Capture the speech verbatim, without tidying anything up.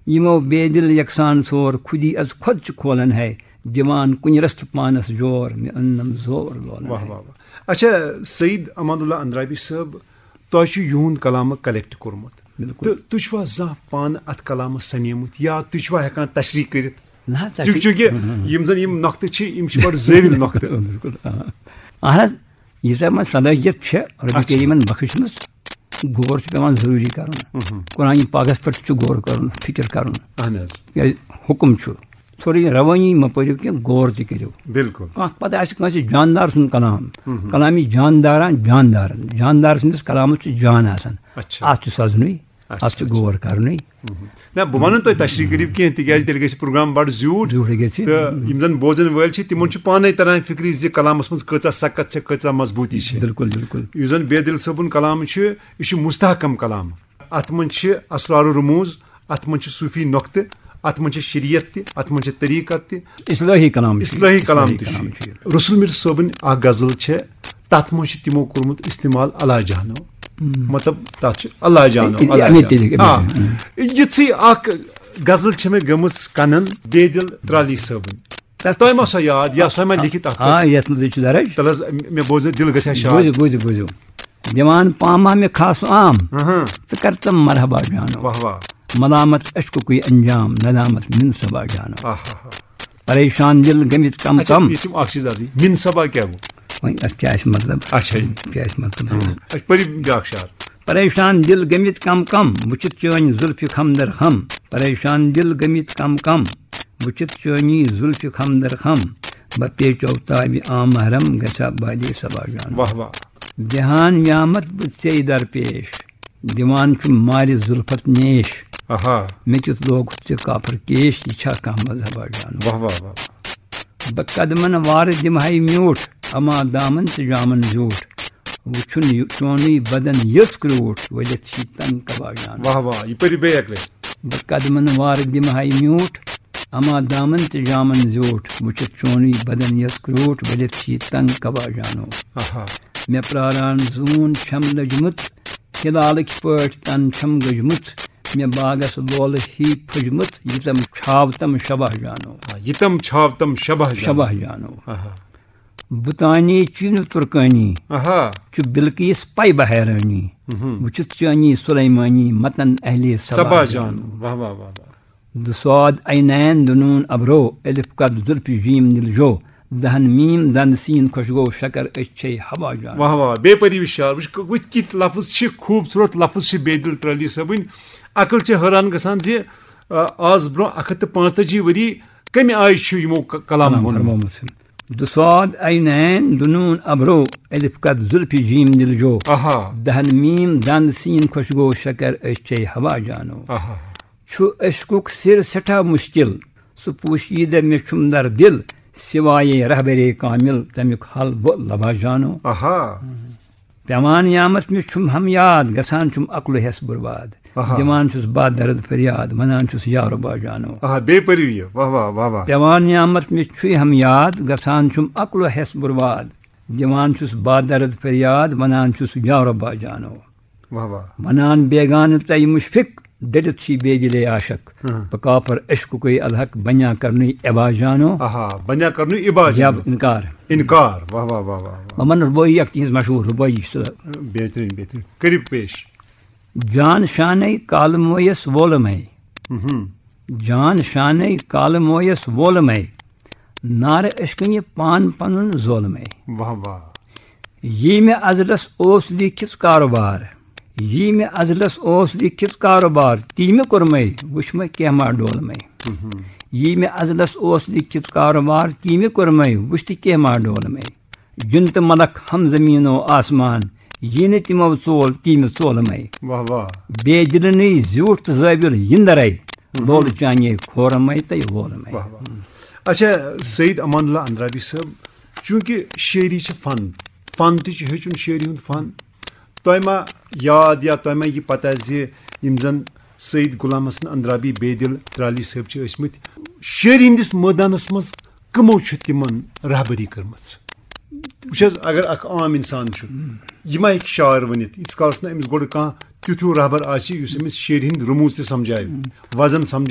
یِمو بے دِل یکسان ژور، خودی از خود چھُ کھولان ہے، دِوان کُنہِ رستہٕ پانس جور، مےٚ أننم زور لولان واہ ہے۔ واہ واہ۔ اچھا، سعید امان اللہ اندرابی صٲب، تۄہہِ چھُ یِہُنٛد کلامہٕ کلیکٹ کوٚرمُت۔ بِلکُل۔ تہٕ تُہۍ چھِوا زانٛہہ پانہٕ اتھ کلامس سنیمُت یا تُہۍ چھِوا ہٮ۪کان تشریح کٔرِتھ؟ نہ، تشریح۔ چونکہ یِم زن یِم نۄقطہٕ چھِ، یِم چھِ بڑٕ زٲوِل نۄقطہٕ۔ بِلکُل، آ۔ اہن حظ، ییٖژاہ یِمن صلٲحیت چھےٚ، رۄبِ اچھا۔ کریٖمن بخشمٕژ، غور چھُ پٮ۪وان ضروٗری کرُن۔ مہم۔ قرآن پاکس پٮ۪ٹھ تہِ چھُ غور کرُن، فکر کرُن۔ اہن حظ۔ کیازِ حُکم چھُ، ژھورُے روٲنی مہ پٔرِو کینٛہہ، غور تہِ کٔرِو۔ بِلکُل۔ کانٛہہ پتہٕ آسہِ کٲنٛسہِ جاندار سُنٛد کلام، مہم۔ کلامِ جاندارن جاندارن، جاندار سٕنٛدِس کلامس چھُ جان آسان۔ اچھا۔ اتھ چھُ سزنُے، اچھا، اتھ چھُ اچھا۔ غور کرنُے۔ مہم۔ نہ، بہٕ ونہٕ تۄہہِ تشریح کٔرِو کینٛہہ، تِکیازِ تیٚلہِ گژھِ پروگرام بڑٕ زیوٗٹھ۔ زیوٗٹھ گژھِ۔ تہٕ یِم زن بوزن وٲلۍ چھِ، تِمن چھُ پانے تران فکرِ زِ کلامس منٛز کۭژاہ سکت چھےٚ، کۭژاہ مضبوٗطی چھےٚ۔ بِلکُل، بِلکُل۔ یُس زن بے دِل صٲبُن کلام چھُ، یہِ چھُ مستحکم کلام۔ اتھ منٛز چھِ اسرار و رموز، اتھ منٛز چھِ صوفی نۄقطہٕ، اتھ منٛز چھِ شریعت تہِ، اتھ منٛز چھِ طریقت تہِ، اصلٲحی کلام چھُ یہِ۔ اصلٲحی کلام اصلٲحی تہِ چھُ کلام یہِ۔ چھُ یہِ۔ رسول میر صٲبٕنۍ اکھ غزل چھےٚ، تتھ منٛز چھِ تِمو کوٚرمُت استعمال اللہ جانو۔ ہم۔ مطلب، تتھ چھُ اللہ جانو، اے، اے، اللہ اے، جانو۔ اے، اے، آ، اے۔ یِژھٕے اکھ غزل چھےٚ مےٚ گٔمٕژ کنن بے دِل ترالی صٲبٕنۍ۔ تتھ تۄہہِ ما سۄ یاد یا سۄ ما لیکھِتھ اتھ آ، پٮ۪ٹھ؟ یتھ منٛز یہِ چھُ درج۔ تَلہٕ حظ، مےٚ بوزنٲیِو، دِل گژھِ ہا شاد۔ بوٗزِو، بوٗزِو، بوٗزِو۔ دِوان پامہ مےٚ خاص عام، اہاں۔ ژٕ کر تم مرحبا جانو۔ واہ واہ۔ ملامت عشقُکُے انجام، ندامت من صبا جانو۔ آہا۔ پریشان دل گٔمٕتۍ کم اچھا، کم۔ یہِ چھُم اکھ چیٖز عرضی، من صبا کیٛاہ گوٚو؟ وۄنۍ اتھ کیٛاہ آسہِ مطلب؟ اچھا۔ کیٛاہ آسہِ مطلب؟ ہاں۔ اچھا، پٔرِو بیٛاکھ شعر۔ پریشان دل گٔمٕتۍ کم کم، وٕچھِتھ چٲنۍ زُلفہِ خم در خم۔ پریشان دل گٔمٕتۍ کم کم، وٕچھِتھ چٲنی زُلفہِ خم در خم۔ بہ پیچو تابِ آ محرم، گژھا بادی صبا جان۔ واہ واہ۔ دِہان یامت بہٕ ژے درپیش، دِوان چھُم مارِ زُلفت نیش۔ آہا۔ مےٚ کیُتھ لوگُتھ ژےٚ کافر کیش، یہِ چھا کانٛہہ مذہبا جانو؟ واہ واہ واہ واہ۔ بہٕ قدمن وارٕ دِمہٕ ہاے میوٗٹھ، اما دامن تہٕ جامن زیوٗٹھ۔ وٕچھُن یہِ چونُے بدن یٔژ کرٛوٗٹھ، ؤلِتھ چھِ تنگ کبا جانو۔ واہ واہ، یہِ پٔرِو بیٚیہِ اَکہِ لَٹہِ۔ بہٕ قدمن وارٕ دِمہٕ ہاے میوٗٹھ، اما دامن تہٕ جامن زیوٗٹھ۔ وٕچھِتھ چونُے بدن یٔژ کرٛوٗٹھ، ؤلِتھ چھِ تنگ کبا جانو۔ آہا۔ مےٚ پراران زوٗن چھم لٔجمٕژ، ہلالٕکۍ پٲٹھۍ تن چھم گٔجمٕژ۔ مےٚ باغس لولہٕ ہی پھٔجمٕژ، یہِ تم چھاو تم شبہ جانو۔ آ، یہِ تم چھاو تم شبہ جانو۔ شبہ جانو۔ آہا۔ بُتانی چیٖنہٕ تُرکٲنی، آہا۔ چھُ بلقیس پے بہ حیرٲنی۔ مہم۔ وٕچھِتھ چٲنی سلیمٲنی متن اہلِ سبا سبا جانو۔ جانو۔ واہ واہ واہ واہ۔ دُسواد عینین دُنوٗن ابرو، الف قد زُلفِ جیم دِل جو۔ دہن میم دند سین خۄش گوٚو شکر أچھ چھے ہوا جان۔ واہ واہ، بے پٔرِو شعر۔ وٕچھ، وٕچھ کِتھ لفظ چھِ، خوٗبصوٗرت لفظ چھِ بے دِل ترٛٲلی صٲبٕنۍ۔ عقل چھِ حٲران گژھان زِ، آ، آز برونٛہہ اَکھ ہَتھ تہٕ پانٛژتٲجی ؤری کَمہِ آیہِ چھُ یِمو ک-، کلام کلام ووٚنمُت؟ فرمومُت چھُ۔ دُسواد عینین دُنوٗن ابرو، الف قد زُلفِ جیم دِل جو۔ آہا۔ دہن میم دند سین خۄش گوٚو شکر أچھ چھے ہوا جانو۔ آہا۔ چھُ عشقُک سِر سٮ۪ٹھاہ مُشکِل، سُہ پوشیدہ مےٚ چھُم در دِل، سوایے رہبرے کامل تمیُک حل بہٕ لبا جانو۔ آہا۔ پٮ۪وان یامس مےٚ چھُم ہم یاد، گژھان چھُم عقلہٕ ہٮ۪س برباد۔ آہا۔ دِوان چھُس با درد فریاد، ونان چھُس یا ربا جانو۔ آہا، بیٚیہِ پٔرِو یہِ۔ واہ واہ، واہ واہ۔ پٮ۪وان یامس مےٚ چھُے ہم یاد، گژھان چھُم عقلہٕ ہٮ۪س برباد۔ دِوان چھُس با درد فریاد، ونان چھُس یا ربا جانو۔ واہ واہ۔ ونان بیگانہٕ تۄہہِ مُشفِق، ڈٔلِتھ چھی بے دِلے عاشق۔ ہاں۔ بہٕ کافر عشقُکُے الحق، بنیا کرنُے عبا جانو۔ آہا، بنیا کرنُے عبا یا جانو۔ انکار۔ انکار۔ واہ واہ واہ واہ واہ۔ وۄنۍ ونہٕ رُبٲعی اکھ تِہنٛز مشہوٗر رُبٲعی چھِ سۄ۔ بہتریٖن، بہتریٖن۔ کٔرِو پیش۔ جان شانے کالہٕ مویس وولہٕ مے۔ مہم۔ جان شانے کالہٕ مویس وولہٕ مے۔ نارٕ عشقہٕ یہِ پان پنُن زولہٕ مے۔ واہ واہ۔ یی مےٚ ازلس اوس لیکھِتھ کاروبار۔ یی مےٚ ازلس اوس لیکھِتھ کاروبار، تی مےٚ کوٚرمے، وٕچھ مےٚ کینٛہہ ما ڈول مے۔ مہم۔ یی مےٚ ازلس اوس لیکھِتھ کاروبار، تی مےٚ کوٚرمے، وٕچھ تہِ کینٛہہ ما ڈول مے۔ جِن تہٕ ملک ہم زمین و آسمان، یی نہٕ تِمو ژول، تی مےٚ ژول مے۔ واہ واہ۔ بے دِلہٕ نٕے زیوٗٹھ تہٕ زٲوِل یِندرے، مہم۔ لولہٕ چانے کھورمے تہٕ وولمے۔ واہ واہ۔ اچھا، سعید امان اللہ اندرابی صٲب، چوٗنٛکہِ شٲعری چھِ فن، فن تہِ چھُ ہیٚچھُن، شٲعری ہُنٛد فن۔ تۄہہِ ما یاد یا تۄہہِ ما یہِ پتہ زِ یِم زن سعید غلام حسن اندرابی بے دِل ترالی صٲب چھِ ٲسمٕتۍ، شٲعری ہٕنٛدِس مٲدانس منٛز کٕمو چھُ تِمن رہبری کٔرمٕژ؟ وٕچھ حظ، اگر اکھ عام انسان چھُ، یہِ ما ہیٚکہِ شاعر ؤنِتھ، ییٖتِس کالس نہٕ أمِس گۄڈٕ کانٛہہ تیُتھ ہیوٗ رہبر آسہِ، یُس أمِس شٲعری ہٕنٛدۍ رموز تہِ سمجھاوِ، وزن سمجھاوِ۔